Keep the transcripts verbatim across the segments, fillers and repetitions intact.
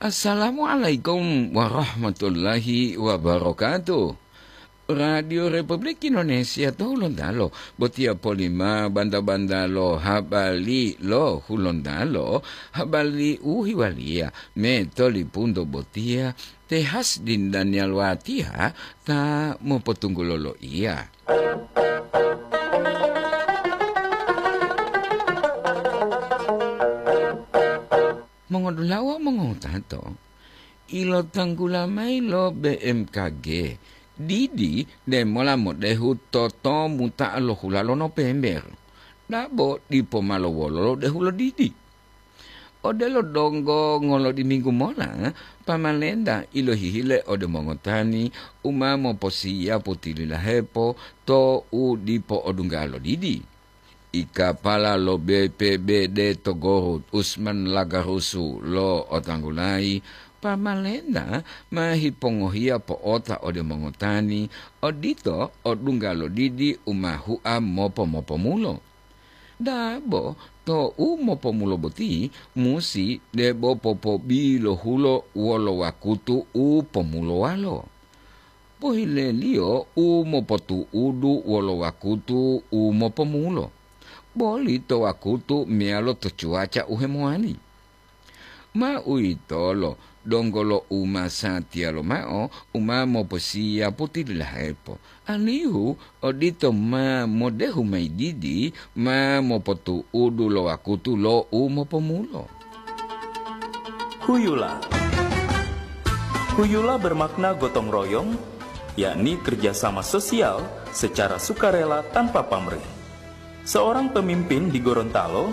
Assalamualaikum warahmatullahi wabarakatuh. Radio Republik Indonesia to Hulontalo, botiya polima banta-banta lo habari lo Hulontalo, habari u hiwaliya me tolipunto botiya te Hasdin Daniel Watiha ta mopotunggulo loiya. Mongodula'a wawu mongowutato, ilotanggula mayi lo B M K G, didi demola modehu totomuta lo hula lo Nopember, dabo dipo ma lowolo lo dehu lo didi. Odelo donggo ngolodiminggu mola, pamalenta ilohihile ode mongotani u ma moposiyapu tililahepo to u dipo odungga lo didi. Ikapala lo B P B D to Gorut, Usman Lagarusu lo otanggulayi, pamalenta ma hipongohiya po'ota ode mongotani, odito odungga lo didi u ma hua mopo-mopomulo. Dabo to u mopomulo boti musi debo popobilohulo wolo wakutu u pomulowalo. Pohileliyo u mopotu'udu wolo wakutu u mopomulo, boli to wakutu meyalo to cuaca u hemowali. Ma uwitolo donggo lo u masatiya lomao u ma moposiyapu tililahepo, alihu odito ma modehu mayi didi ma mopotu'udu lo wakutu lo u mopomulo. Huyula. Huyula bermakna gotong royong, yakni kerjasama sosial secara sukarela tanpa pamrih. Seorang pemimpin di Gorontalo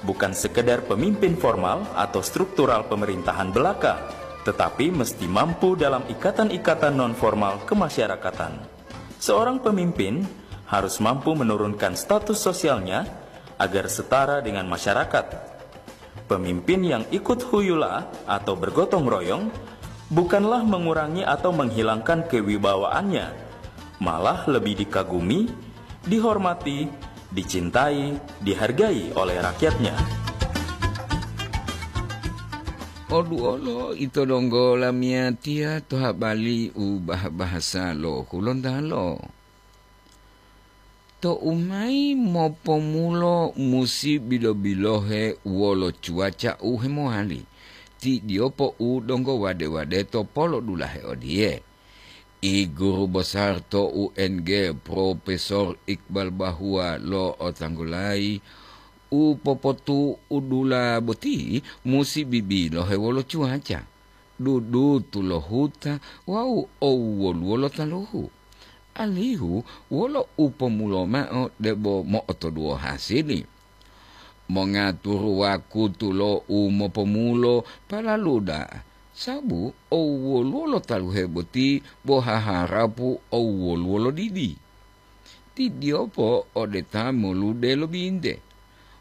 bukan sekedar pemimpin formal atau struktural pemerintahan belaka, tetapi mesti mampu dalam ikatan-ikatan non-formal kemasyarakatan. Seorang pemimpin harus mampu menurunkan status sosialnya agar setara dengan masyarakat. Pemimpin yang ikut huyula atau bergotong royong bukanlah mengurangi atau menghilangkan kewibawaannya, malah lebih dikagumi, dihormati, dicintai, dihargai oleh rakyatnya. Oduolo ito donggo lamiyatiya to habari u bah-bahasa lo Hulontalo. Tou mayi mopomulo musi bilo-bilohe wolo cuaca u hemowali, ti diyopo u donggo wade-wadeto polodulahe odiye, I guru besar to U N G, Profesor Iqbal Bahua lo otanggulayi, u popotu'udula boti musi bibilohe wolo cuaca, dudutu lo huta wawu owwoluwo lo taluhu, alihu wolo u pomulo mao debo mo'otoduwo hasili. Mongaturu wakutu lo u mopomulo palalu da'a, sabu owwoluwo lo taluhe boti bo haharapu owwoluwo lo didi. Ti diyopo ode ta molude lo binte,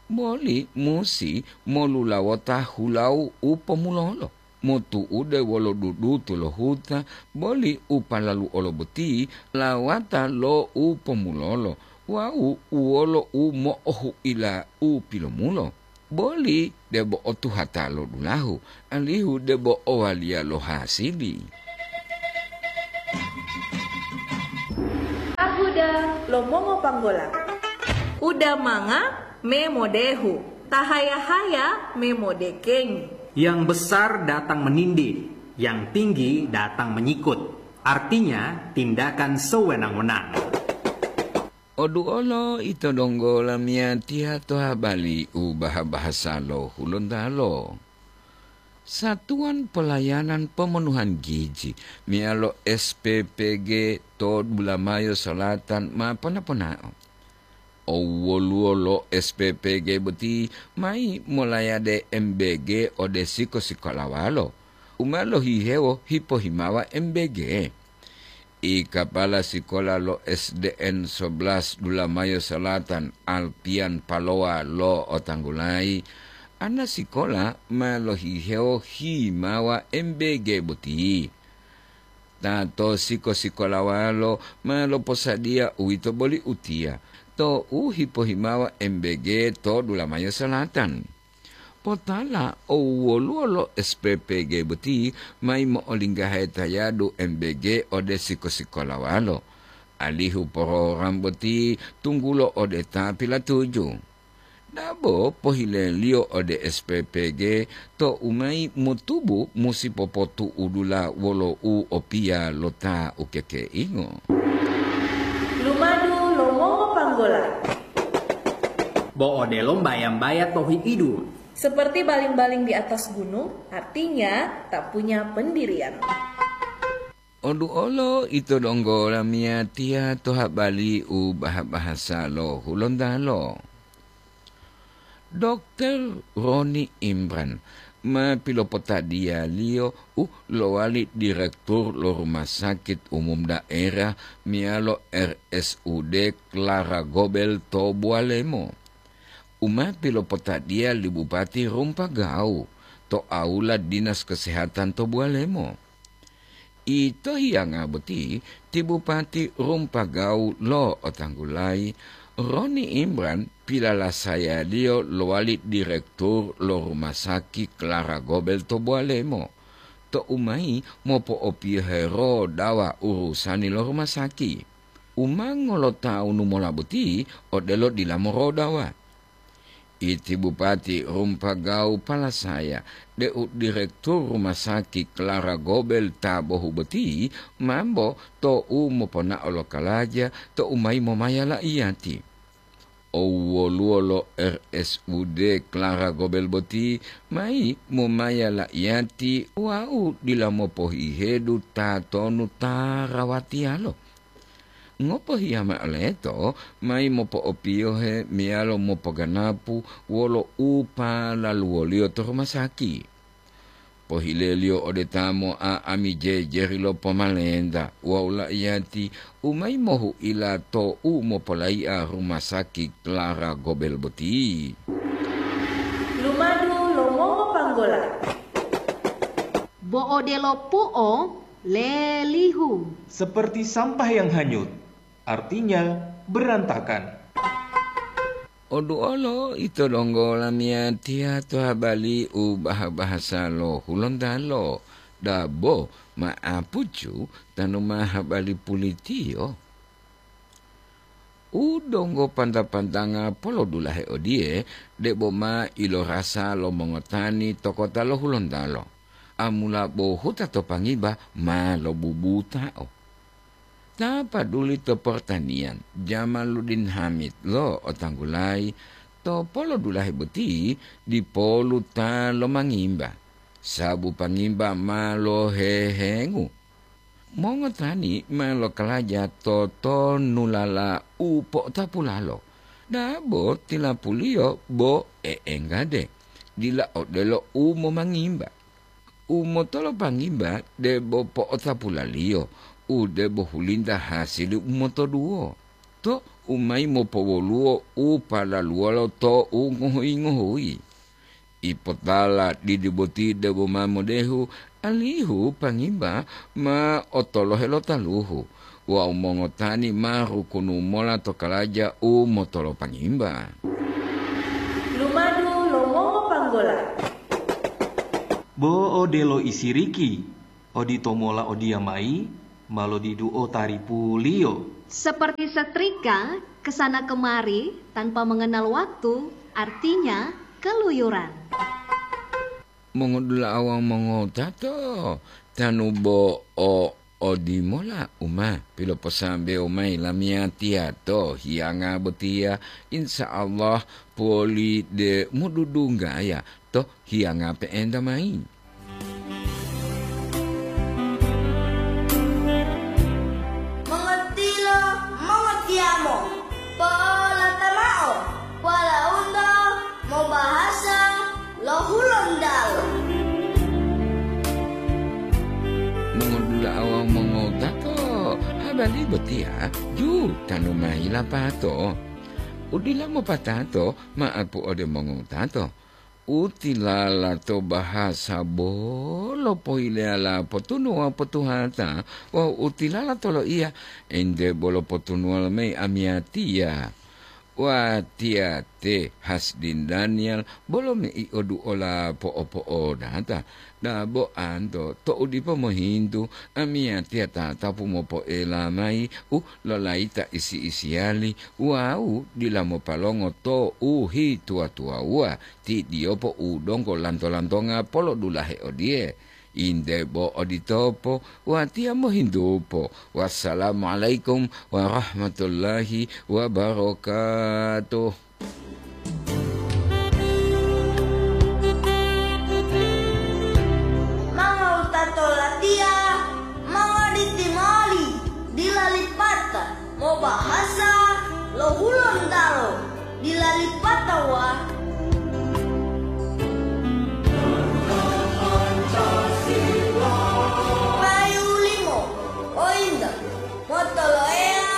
boli musi molulawota hulau u pomulolo, motu'ude wolo dudutu lo huta, boli u palalu olo boti lawata lo u pomulolo wawu wolo u mo'ohu'ila u pilomulo, boli debo otuhata lo dulahu, alihu debo owaliya lo hasili. Ahuda lo mongopanggola. Uda manga me modehu, tahaya-haya me modekengi. Yang besar datang menindih, yang tinggi datang menyikut. Artinya, tindakan sewenang-wenang. Oduolo ito donggo lamiyatiya to habari u baha-bahasa lo Hulontalo. Satuan Pelayanan Pemenuhan Gizi meyalo S P P G to Bulamayo Selatan ma pona-ponao. Owwoluwo lo S P P G boti mayi molayade M B G ode siko-sikolawalo u ma lohihewo hipohimawa M B G. I kapala sikola lo S D N sebelas Dulamayo Selatan, Alpian Palowa lo otanggulayi, ana sikola ma lohihewo himawa M B G boti. Ta to siko-sikolawalo ma loposadiya uwito boli utiya, to u hipohimawa M B G to Dulamayo Selatan. Potala o woluwo lo S P P G boti mayi mo'olinggahe tayadu M B G ode siko-sikolawalo, alihu program boti tunggulo ode ta pilatuju. Dabo pohileliyo ode S P P G to umayi motubu musi popotu'udula wolo u opiya lo ta ukekeingo. Lumadu lo mongopanggola. Bo odelo mbaya-mbaya to hi'idu. Seperti baling-baling di atas gunung, artinya tak punya pendirian. Oduolo ito donggo lamiyatiya to habali u baha-bahasa lo Hulontalo. Dokter Roni Imran ma pilopotadiyaliyo u lowali direktur lo Rumah Sakit Umum Daerah meyalo R S U D Clara Gobel to Bualemo, u ma pilopotadiya li Bupati Rumpagau to aula Dinas Kesehatan to Bualemo. Ito hiyanga boti ti Bupati Rumpagau lo otanggulayi, Roni Imran pilalasayaliyo lowali direktur lo Rumah Sakit Clara Gobel to Bualemo, to umayi mopo'opiyohe rodawa urusani lo rumah sakit. U ma ngolotawunu mola boti odelo dila morodawa. Iti Bupati Rumpagau palasaya deu direktur Rumah Sakit Clara Gobel ta bohu boti mambo tou moponao lo kalaja tou mayi momaya laiyati. Owoluwo lo R S U D Clara Gobel boti mayi momaya laiyati wawu dila mopohihedu tatonu ta rawatiyalo. Ngopohiya mao leto mayi mopo'opiyohe meyalo mopoganapu wolo u palaluwoliyo to rumah sakit. Pohileliyo ode ta mo'a'ami jejeri lo pomalenta wawu laiyati u mayi mohu'ila tou mopolai'a rumah sakit Clara Gobel boti. Lumadu lo mongopanggola. Bo odelo pu'o lelihu. Seperti sampah yang hanyut, artinya berantakan. Oduolo ito donggo lamiyatiya to habali u baha-bahasa lo Hulontalo, dabo ma'apucu tanu ma habali pulitiyo. U donggo panta-pantanga polodulahe odiye, debo ma ilorasa lo mongotani to kota lo Hulontalo, amula bo huta to Pangiba ma lobubutao. Ta paduli to portaniyan, Jamaluddin Hamid lo otanggulayi, to polodulahe boti dipolu ta lomangimba, sabu Pangiba ma lohehengu. Mongotani ma lokalaja to tonulala u po'otapulalo, dabo tilapuliyo bo e'enggade, dila odelo u momangimba. U motolopangimba debo po'otapulaliyo, u debo hulinta hasili u motoduwo, to u mayi mopowoluwo u palaluwolo to u ngohuyi-ngohuyi. Ipotala didi boti debo ma modehu, alihu Pangiba ma otolohe lo taluhu wawu mongotani ma rukunu mola to kalaja u motolopangimba. Lumadu lo mongopanggola. Bo odelo isiriki, odito mola odiyamayi ma lodiduo taripuliyo. Seperti setrika kesana kemari tanpa mengenal waktu, artinya keluyuran. Mongodula'a wawu mongotato, tanu bo o odimola u ma piloposambewo mayi lamiyatiya to hiyanga botiya, insya Allah poli de mududunggaya to hiyanga pe'enta mayi. Mongotilo, mongotiyamo, po'olata mao, walaundo mobahasa lo Hulontalo. Mongodula'a wawu mongotato, habari botiya ju tanu mayi lapato. Udila mopatato ma'apu ode mongotato. Utilala to bahasa bolo pohileyala potunuwa potuhata wawu utilala to loiya ente bolo potunuwa lomayi amiyatiya. Watiya te Hasdin Daniel bolo mei'odu'ola po'opo'odata. Dabo anto to'u dipo mohintu, amiyatiya tatapu mopo'ela mayi u lolayita isi-isiyali wawu dila mopalongo to u hituwa-tuwawuwa, ti diyopo u donggo lanto-lantonga polodulahe odiye. Inde bo oditopo, watiya mohintupo. Wassalamualaikum warahmatullahi wabarakatuh. Mangawutato latiya, mangawaditimali, dila lipata. Mobahasa lo Hulontalo dila lipatawa. Payu limo, ointa motoloeya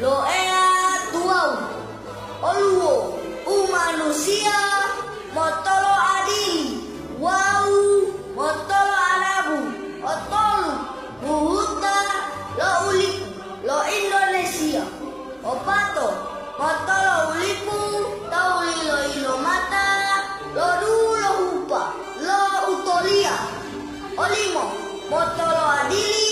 lo Eya tuwawu. Oluwo umanusiya motolo adili wawu motolo adabu, otolu buhuta lo u lipu lo Indonesia, opato motolo u lipu tawu lilo-ilomata lo dulohupa lo utoliya, olimo motolo adili